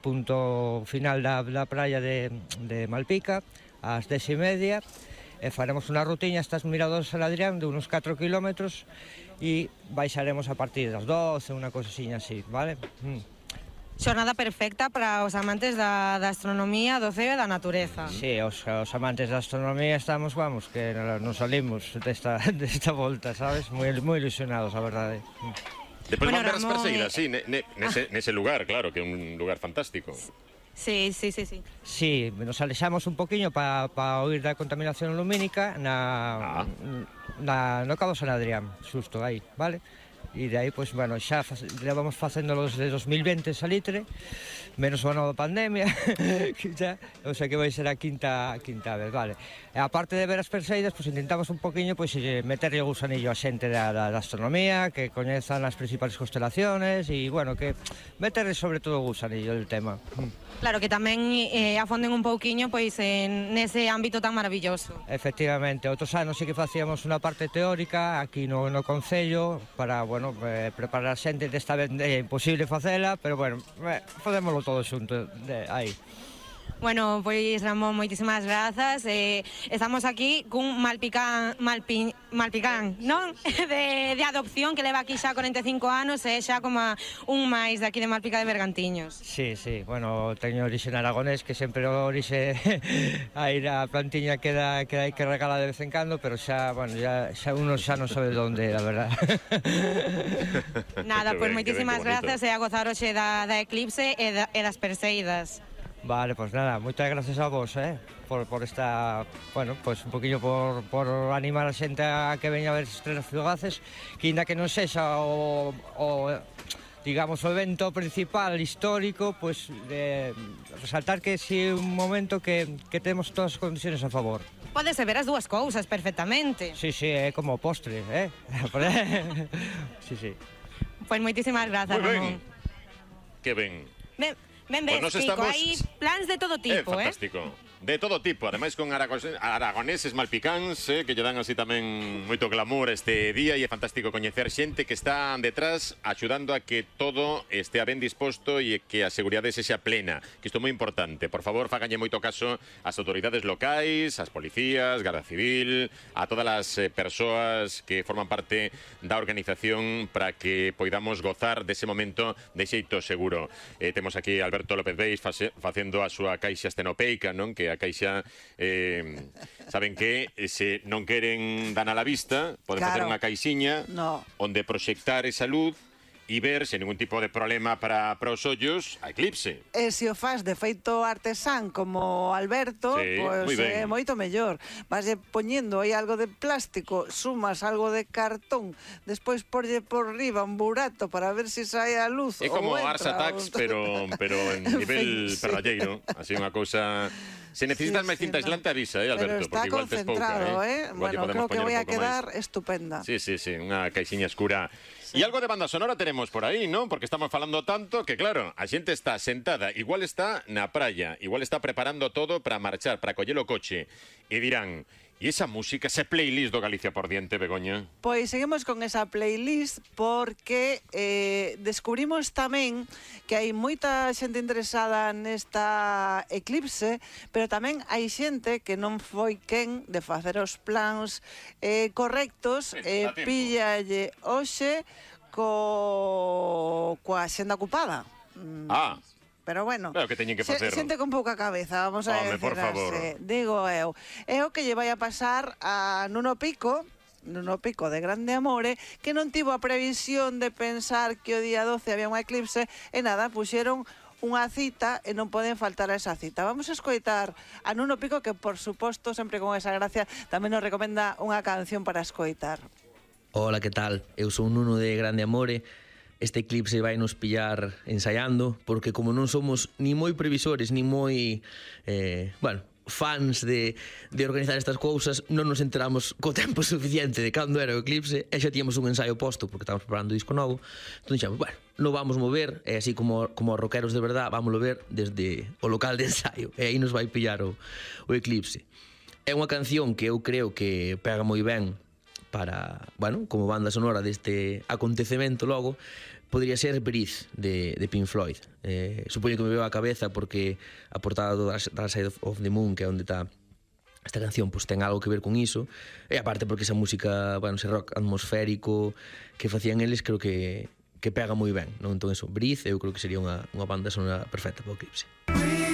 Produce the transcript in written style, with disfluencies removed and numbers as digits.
punto final da praia de Malpica, ás 10:30, e faremos unha rutiña hasta os miradores San Adrián de unos 4 kilómetros e baixaremos a partir das 12, unha cosasiña así, vale? Xornada perfecta para os amantes da astronomía, do ceo e da natureza. Sí, os amantes da astronomía estamos, vamos, que non salimos desta volta, sabes? Moi ilusionados, a verdade. Despois van ver as perseidas, sí, nese lugar, claro, que é un lugar fantástico. Sí. Sí, nos alexamos un poquinho para oír da contaminación lumínica no Cabo San Adrián, xusto aí, vale? E de aí, pois, bueno, xa levamos facéndolo desde 2020 salitre, menos o ano da pandemia, o sea que vai ser a quinta vez, vale. E aparte de ver as perseidas, pois intentamos un poquinho pois meterlle o gusanillo a xente da astronomía, que coñezan as principales constelaciones e, bueno, que meterle sobre todo o gusanillo del tema. Claro, que tamén afonden un pouquiño pois nese ámbito tan maravilloso. Efectivamente, outros anos sí que facíamos unha parte teórica aquí no Concello para, bueno, preparar a xente. Desta vez é imposible facela, pero, bueno, facémolo todo xunto aí. Bueno, pois Ramón, moitísimas grazas. Estamos aquí cun malpicán, non? De adopción que leva aquí xa 45 anos e xa como un máis de aquí de Malpica de Bergantiños. Sí, bueno, teño orixe en aragonés, que sempre o orixe aí a plantiña queda aí que regala de vez en cando, pero xa, bueno, xa uno xa non sabe de onde, a verdad. Nada, pois moitísimas grazas e a gozar hoxe da eclipse e das perseidas. Vale, pues nada, moitas gracias a vos, por esta, bueno, pues un poquillo por animar a xente a que veña a ver estrelas fugaces, que ainda que non sexa digamos, o evento principal histórico, pues resaltar que si é un momento que temos todas as condiciones a favor. Podese ver as dúas cousas perfectamente. Sí, é como postre, Sí. Pois moitísimas grazas, Ramón. Que ben. Ben ves, Kiko, hai plans de todo tipo, fantástico. De todo tipo, ademais con aragoneses malpicáns, que lle dan así tamén moito glamour este día, e é fantástico coñecer xente que está detrás axudando a que todo estea ben disposto e que a seguridade sexa plena, que isto é moi importante. Por favor, fáganlle moito caso ás autoridades locais, ás policías, Garda Civil, a todas as persoas que forman parte da organización para que poidamos gozar dese momento de xeito seguro. Temos aquí Alberto López Beis facendo a súa caixa estenopeica, non? Que a caixa, saben que se non queren dan a la vista, poden facer unha caixiña onde proxectar esa luz e ver, sen ningún tipo de problema para os ollos, a eclipse. E se o faz de feito artesán como Alberto, pois é moito mellor. Vas poñendo aí algo de plástico, sumas algo de cartón, despois porlle por riba un burato para ver se sae a luz. É como Ars Attacks, pero en nivel perralleiro, así unha cousa... Se necesitas máis cinta aislante, avisa, Alberto, porque igual tes pouca, Bueno, creo que vai a quedar estupenda. Sí, unha caixiña escura. E algo de banda sonora tenemos por aí, non? Porque estamos falando tanto que, claro, a xente está sentada, igual está na praia, igual está preparando todo para marchar, para coller o coche, e dirán... E esa música, ese playlist do Galicia por diante, Begoña? Pois seguimos con esa playlist porque descubrimos tamén que hai moita xente interesada nesta eclipse, pero tamén hai xente que non foi quen de facer os plans correctos e píllalle hoxe coa xenda ocupada. Pero bueno, claro que teñen que facer. Xente con pouca cabeza, vamos a decirase. Digo eu. É o que lle vai a pasar a Nuno Pico de Grande Amore, que non tivo a previsión de pensar que o día 12 había unha eclipse, e nada, puxeron unha cita e non poden faltar a esa cita. Vamos a escoitar a Nuno Pico, que por suposto, sempre con esa gracia, tamén nos recomenda unha canción para escoitar. Hola, que tal? Eu sou Nuno de Grande Amore. Este eclipse vai nos pillar ensaiando, porque como non somos ni moi previsores, ni moi, fans de organizar estas cousas, non nos enteramos co tempo suficiente de cando era o eclipse, e xa tíamos un ensaio posto, porque estamos preparando disco novo. Entón dixemos, non vamos mover, e así como os rockeros de verdad, vámoslo ver desde o local de ensaio, e aí nos vai pillar o eclipse. É unha canción que eu creo que pega moi ben para, como banda sonora deste acontecemento logo, podría ser Breathe, de Pink Floyd. Supoño que me veo a cabeza porque a portada do Dark Side of the Moon, que é onde está esta canción, pues ten algo que ver con iso. E aparte porque esa música, bueno, ese rock atmosférico que facían eles, creo que pega moi ben, non? Entón, eso, Breathe, eu creo que sería unha banda sonora perfecta para o Eclipse.